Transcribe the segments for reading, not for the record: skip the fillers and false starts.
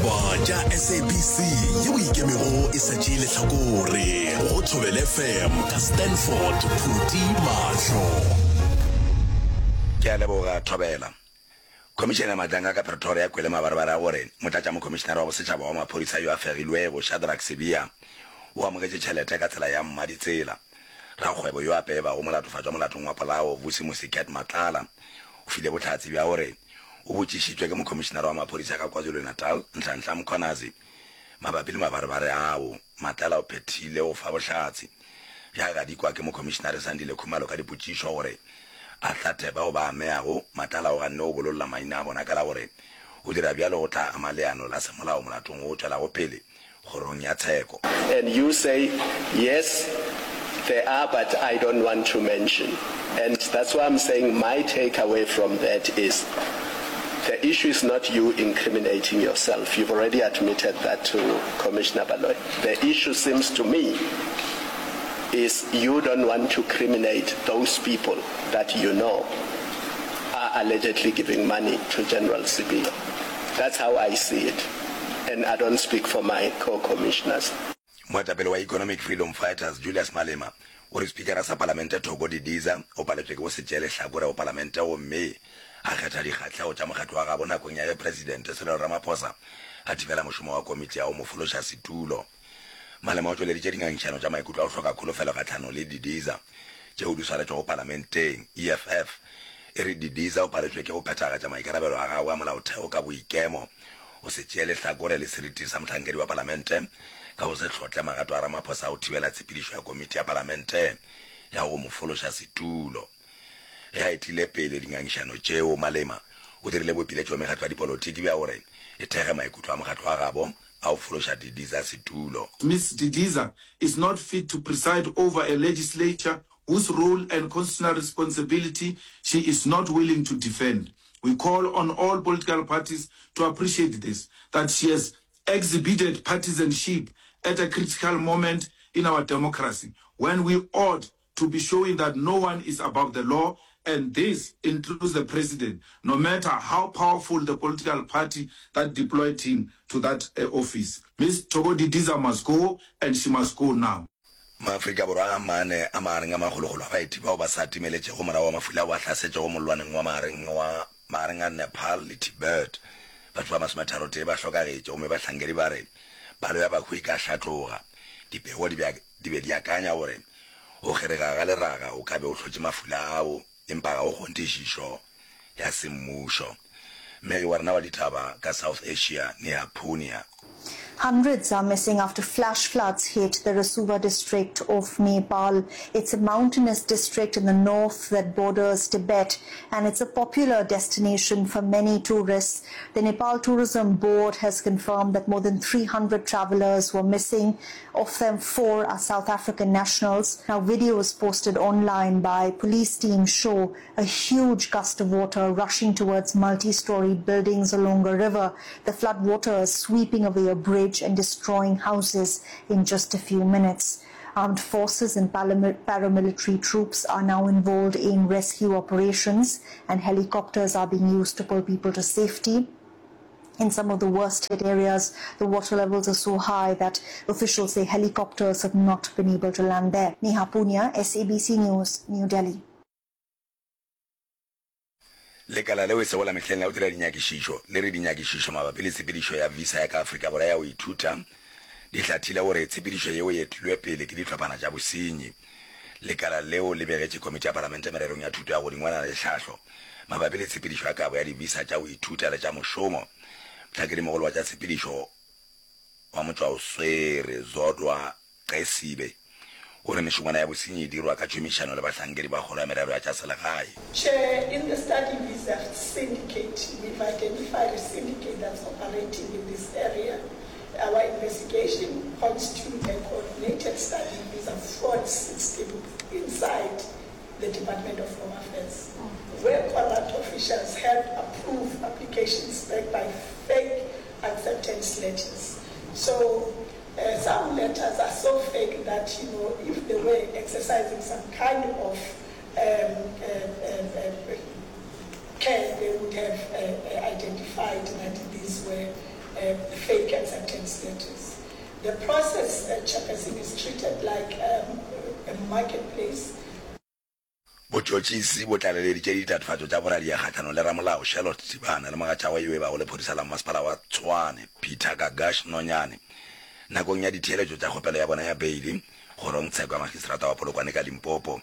Ditaba tša SABC yeo e ikemego e sa tšee lehlakore go Thobela FM ka Stanford Phuti Mahlo. Ke a leboga Thobela. Khomišene ya Matlanga ka Pretoria e kwele mabarebare a gore Motlatšamokhomišenare wa Bosetšhaba wa Maphodisa yo a fegilwego, Shadrack Sibiya, o amogetše tšhelete ka tsela ya mmaditsela. Rakgwebo yo a peebago molatofatšwa molatong wa polao, Vusimusi Cat Matlala, o file bohlatse bja gore o botšišitšwe ke Mokhomišenare wa Maphodisa ka KwaZulu-Natal, Nhlanhla Mkhwanazi, mabapi le mabarebare ao. Matlala o phethile go fa bohlatse bja gadikwa ke Mokhomišenare Sandile Khumalo ka dipotšišo gore a hlathe bao ba ameago. Matlala o ganne go bololla maina a bona ka la gore go dira bjalo go tla ama leano la semolao molatong wo o tšwelago pele kgorong ya tsheko. And you say, yes, there are but I don't want to mention. And that's why I'm saying my take away from that is the issue is not you incriminating yourself. You've already admitted that to Commissioner Baloyi. The issue seems to me is you don't want to criminate those people that you know are allegedly giving money to General Sibiya. That's how I see it. And I don't speak for my co-commissioners. Moetapele wa Economic Freedom Fighters Julius Malema o re Spikara sa Palamente Thoko Didiza o paletšwe ke go se tšee lehlakore go Palamente gomme a kgetha dikgahlego tša mokgatlo wa gabo nakong ya ge Presidente Cyril Ramaphosa a thibela mošomo wa komiti ya go mo fološa setulo. Malema o tšweleditše dingangišano tša maikutlo a go hloka kholofelo kgahlanong le Didiza tšeo di swaretšwego Palamenteng. EFF e re Didiza o paletšwe ke go phethagatša maikarabelo a gagwe a molaotheo ka boikemo go se tšee lehlakore le seriti sa mohlankedi wa palamente ka go se hlotle magato a Ramaphosa a go thibela tshepedišo ya komiti ya palamente ya go mo fološa setulo. Ge a etile pele dingangišano tšeo, Malema o dirile boipiletšo go mekgatlo ya dipolotiki bja gore e thekge maikutlo a mokgatlo wa gabo a go fološa Didiza setulo. Ms Didiza is not fit to preside over a legislature whose role and constitutional responsibility she is not willing to defend. We call on all political parties to appreciate this, that she has exhibited partisanship at a critical moment in our democracy when we ought to be showing that no one is above the law and this includes the president, no matter how powerful the political party that deployed him to that eh, office. Ms Thoko Didiza must go and she must go now. Maafrika Borwa a mane a magareng a makgolokgolo a baeti bao ba sa timeletšego morago ga mafula ao a hlasetšego mollwaneng wa magareng wa magareng a Nepal le Tibet. Batho ba masometharotee ba hlokagetše gomme bahlankedi ba re palo ya bahu e ka hlatloga. Dipego di be di be di akanya gore go kgerega ga leraga go ka be go hlotše mafula ao, empa ga go kgonthišišo ya semmušo. Mmegi wa rena wa ditaba ka South Asia, Neha Poonia. Hundreds are missing after flash floods hit the Rasuwa district of Nepal. It's a mountainous district in the north that borders Tibet and it's a popular destination for many tourists. The Nepal Tourism Board has confirmed that more than 300 travelers were missing. Of them, four are South African nationals. Now, videos posted online by police teams show a huge gust of water rushing towards multi-story buildings along a river. The flood waters sweeping away a bridge and destroying houses in just a few minutes. Armed forces and paramilitary troops are now involved in rescue operations and helicopters are being used to pull people to safety. In some of the worst hit areas, the water levels are so high that officials say helicopters have not been able to land there. Neha Punia, SABC News, New Delhi. Lekala leo e sego la mehleng la go dira dinyakišišo le re dinyakišišo mabapi le tshepedišo ya visa ya ka Afrika Borwa ya go ithuta di hlathile gore tshepedišo yeo e etilwe pele ke dihlophana tša bosenyi. Lekala leo le begetše Komiti ya Palamente mererong ya Thuto ya Godingwana le Tlhahlo mabapi le tshepedišo ya kabo ya di-visa tša go ithuta le tša mošomo. Mohlakedimogolo wa tša tshepedišo wa motšwaoswere Zodwa Xesibe o re mešongwana ya bosenyi e dirwa ka tšhomišano le bahlankedi ba kgoro ya merero ya tša selegae. Chair, in the study visa syndicate, we've identified a syndicate that's operating in this area. Our investigation points to a coordinated study visa fraud system inside the Department of Home Affairs, where corrupt officials help approve applications backed by fake acceptance letters. So uh, some letters are so fake that, you know, if they were exercising some kind of um, uh, uh, uh, care, they would have uh, uh, identified that these were uh, um, fake acceptance letters. The process, uh, Chairperson, is treated like um, a marketplace. Botšotšisi bo tlaleleditše ditatofatšo tša boradia kgahlanong le ramolao Charlotte Tibana le mogatšagwe yo e bago lephodisa la mmasepala wa Tshwane Peter Gagash Nonyane nakong ya ditheeletšo tša kgopelo ya bona ya beili kgorongtsheko ya magistrata wa Polokwane ka Limpopo.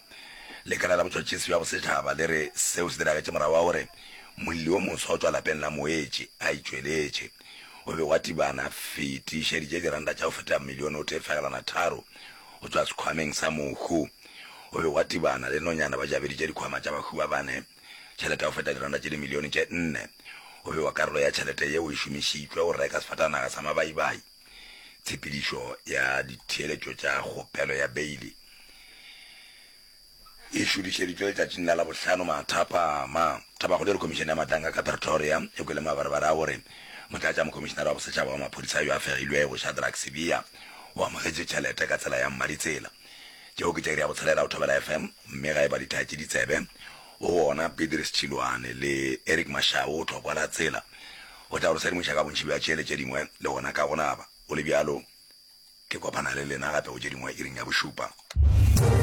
Lekala la botšhotšhisi bja bosetšhaba le re seo se diragetše morago ga gore molli wo moswa o tšwa lapeng la moetši a itšweletše. O be wa Tibana fetišeditše diranta tša go feta milione o tee fegelwana tharo go tšwa sekhwameng sa mohu. O be wa Tibana le Nonyana ba jabeditše dikhwama tša bahu ba bane tšhelete ya go feta diranta tše dimilione tše nne. O be wa karolo ya tšhelete yeo e šomišitšwe go reka sefatanaga sa mabaibai. Tshepedišo ya ditheeletšo tša kgopelo ya beili e šudišeditšwe letšatšing la Labohlano mathapama. Tabakgolo e re Khomišene ya Matlanka ka Pretoria e kwele mabarebare a gore Motlatšamokhomišenare wa Bosetšhaba wa Maphodisa yo a fegilwego, Shadrack Sibiya, o amogetše tšhelete ka tsela ya mmaditsela. Tšeo ke tša iri ya botshelela go Thobela FM, mme ga e ba di thaetše ditsebe go gona Pedris Tšhilwane le Eric Mashau go thokwa la tsela go tla go re sedimoša ka bontši bja tše le tše dingwe le gona ka go naba. Go le bjalo, ke kopana le lena gape go tše dingwe iring ya bošupa.